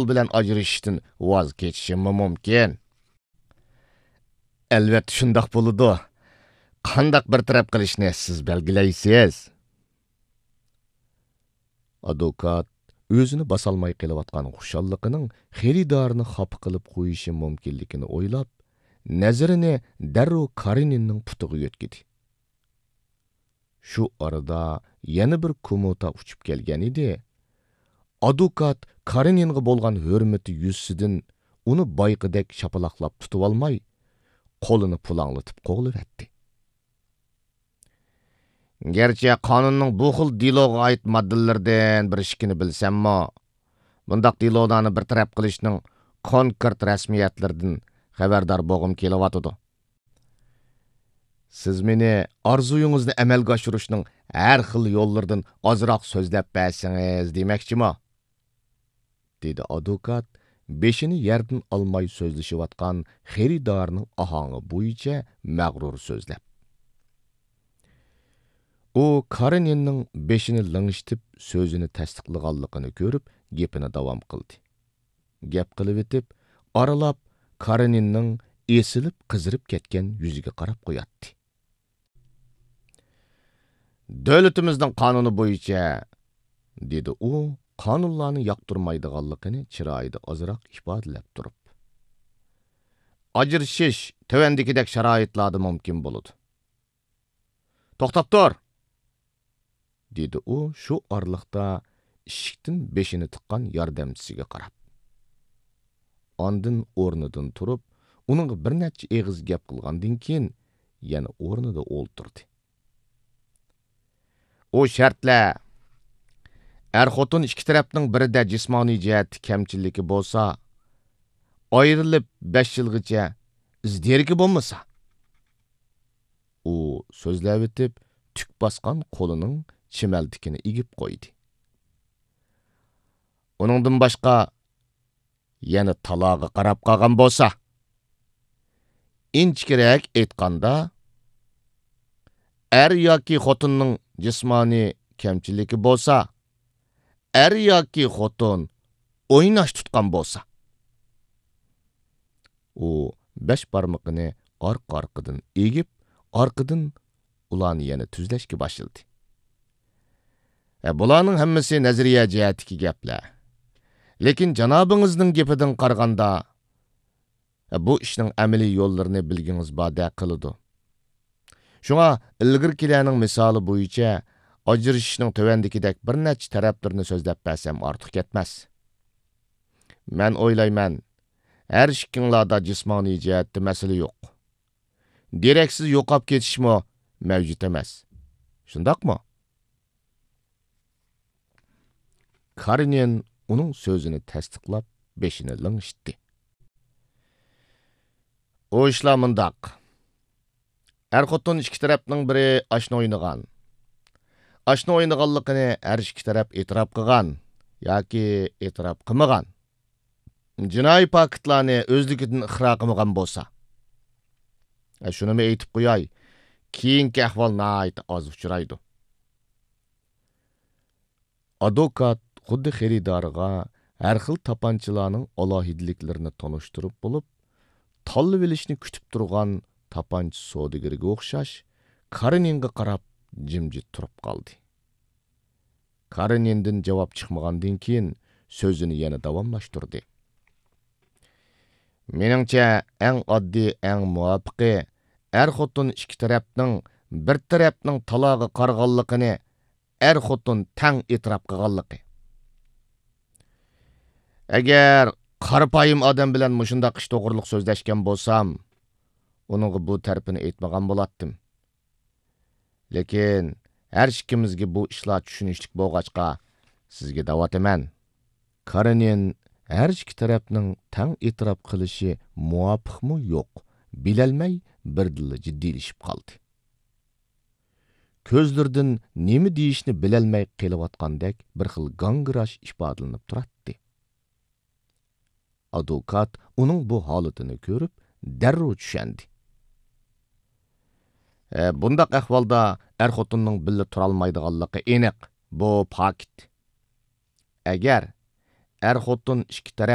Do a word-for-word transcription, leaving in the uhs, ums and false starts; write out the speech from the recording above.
پۇل بىلەن ئاجرىشىشتىن ۋاز كېچىشىممۇ مۇمكىن؟ ئەلۋەتتە شۇنداق بولىدۇ. قانداق بىر تەرەپ قىلىشنى سىز بەلگىلەيسىز؟ ئادۋوكات ئۆزىنى باسالماي قېلىۋاتقان خۇشاللىقىنىڭ خېرىدارنى خاپا قىلىپ قويۇشى مۇمكىنلىكىنى ئويلاپ، نەزىرىنى دەررۇ كارېنىننىڭ پۇتىغا يۆتكىدى. شۇ ئارىدا يەنە بىر كومۇتا ئۇچۇپ كەلگەن ئىدى. ئادۋوكات كارېنىنغا بولغان ھۆرمىتى يۈزىسىدىن ئۇنى بايىقىدەك شاپىلاقلاپ تۇتۇۋالماي، قولىنى پۇلاڭلىتىپ قوغلىۋەتتى. گەرچە قانۇننىڭ بۇ خىل دېلوغا ئائىت ماددىلىرىدىن بىر ئىككىنى بىلسەممۇ، بۇنداق دېلولارنى بىر تەرەپ قىلىشنىڭ كونكرېت رەسمىيەتلىرىدىن خەۋەردار بولغۇم كېلىۋاتىدۇ. سىز مېنى ئارزۇيىڭىزنى ئەمەلگە ئاشۇرۇشنىڭ ھەر خىل يوللىرىدىن ئازراق سۆزلەپ بەرسىڭىز دېمەكچىما؟ دېدى ئادۋوكات بېشىنى يەردىن ئالماي سۆزلىشىۋاتقان خېرىدارنىڭ ئاھاڭى بويىچە مەغرۇر سۆزلەپ. ئۇ كارېنىننىڭ بېشىنى لىڭشىتىپ سۆزىنى تەستىقلىغانلىقىنى كۆرۈپ گېپىنى داۋام قىلدى. گەپ قىلىۋېتىپ، ئارىلاپ كارېنىننىڭ ئېسىلىپ قىزىرىپ كەتكەن يۈزىگە قاراپ قوياتتى. دۆلىتىمىزنىڭ قانۇنى بويىچە، دېدى ئۇ قانۇنلارنى ياقتۇرمايدىغانلىقىنى چىرايىدا ئازراق ئىپادىلەپ تۇرۇپ. ئاجرىشىش تۆۋەندىكىدەك شارائىتلاردا مۇمكىن بولىدۇ. توختاپ تۇر! دېدى ئۇ شۇ ئارىلىقتا ئىشىكتىن بېشىنى تىققان ياردەمچىسىگە قاراپ. ئاندىن ئورنىدىن تۇرۇپ، ئۇنىڭغا بىر نەچچە ئېغىز گەپ قىلغاندىن كېيىن، يەنە ئورنىدا ئولتۇردى. ئۇ شەرتلەر، ئەر-خوتۇن ئىككى تەرەپنىڭ بىرىدە جىسمانىي جەھەتتە كەمچىلىكى بولسا، ئايرىلىپ بەش يىلغىچە ئىز دېرىكى بولمىسا. ئۇ سۆزلەۋېتىپ، تۈك باسقان قولىنىڭ چىمەلتىكىنى ئېگىپ قويدى. ئۇنىڭدىن باشقا، يەنە تالاغا قاراپ قالغان بولسا، ئىنچىكىرەك ئېيتقاندا، ئەر ياكى خوتۇننىڭ جىسمانىي كەمچىلىكى بولسا، ئەر ياكى خوتۇن ئويناش تۇتقان بولسا. ئۇ بەش بارمىقىنى ئارقا-ئارقىدىن ئېگىپ، ئارقىدىن ئۇلارنى يەنە تۈزلەشكە باشلىدى. ھە، بۇلارنىڭ ھەممىسى نەزەرىيە جەھەتتىكى گەپلەر. لېكىن جانابىڭىزنىڭ گېپىدىن قارىغاندا، ھە، بۇ ئىشنىڭ ئەمەلىي يوللىرىنى بىلگىڭىز باردەك قىلىدۇ. شۇڭا ئىلگىرىكىلەرنىڭ مىسالى بويىچە ئاجرىشىشنىڭ تۆۋەندىكىدەك بىر نەچچە تەرەپلىرىنى سۆزلەپ بەرسەم ئارتۇق كەتمەس. مەن ئويلايمەن، ھەر ئىككىڭلاردا جىسمانىي جەھەتتە مەسىلە يوق. دېرەكسىز يوقاپ كېتىشمۇ مەۋجۇت ئەمەس. شۇنداقمۇ؟ كارېنىن ئۇنىڭ سۆزىنى تەستىقلاپ، بېشىنى لىڭشىتتى. ئۇ ئىشلار مۇنداق. ئەر-خوتۇن ئىككى تەرەپنىڭ بىرى ئاشنا ئوينىغان. ئاشنا ئوينىغانلىقىنى ھەر ئىككى تەرەپ ئېتىراپ قىلغان ياكى ئېتىراپ قىلمىغان. جىنايى پاكىتلارنى ئۆزلۈكىدىن ئىقرار قىلمىغان بولسا. ھە، شۇنىمۇ ئېيتىپ قوياي، كېيىنكى ئەھۋال ناھايىتى ئاز ئۇچرايدۇ. ئادۋوكات خۇددى خېرىدارىغا ھەر خىل تاپانچىلارنىڭ ئالاھىدىلىكلىرىنى تونۇشتۇرۇپ بولۇپ، تاللىۋېلىشنى كۈتۈپ تۇرغان تاپانچا سودىگىرىگە ئوخشاش، كارېنىنغا قاراپ جىمجىت تۇرۇپ قالدى. كارېنىندىن جاۋاب چىقمىغاندىن كېيىن، سۆزىنى يەنە داۋاملاشتۇردى. مېنىڭچە، ئەڭ ئاددىي، ئەڭ مۇۋاپىقى، ئەر-خوتۇن ئىككى تەرەپنىڭ بىر تەرەپنىڭ تالاغا قارىغانلىقىنى ئەر-خوتۇن تەڭ ئېتىراپ قىلغانلىقى. ئەگەر قارىپايىم ئادەم بىلەن مۇشۇنداق ئىش توغرىلىق سۆزلەشكەن بولسام، ئۇنىڭغا بۇ تەرىپىنى ئېيتمىغان بولاتتىم. لېكىن ھەر ئىككىمىزگە بۇ ئىشلار چۈشىنىشلىك بولغاچقا، سىزگە دەۋاتىمەن. كارېنىن ھەر ئىككى تەرەپنىڭ تەڭ ئېتىراپ قىلىشى مۇۋاپىقمۇ يوق، بىلەلمەي بىردىنلا جىددىيلىشىپ قالدى. كۆزلىرىدىن نېمە دېيىشنى بىلەلمەي قېلىۋاتقاندەك بىر خىل گاڭگىراش ئىپادىلىنىپ تۇراتتى. ئادۋوكات ئۇنىڭ بۇ ھالىتىنى كۆرۈپ، دەررۇ چۈشەندى. ھە، بۇنداق ئەھۋالدا ئەر-خوتۇننىڭ بىللە تۇرالمايدىغانلىقى ئېنىق، بۇ پاكىت. ئەگەر ئەر-خوتۇن ئىككى تەرەپ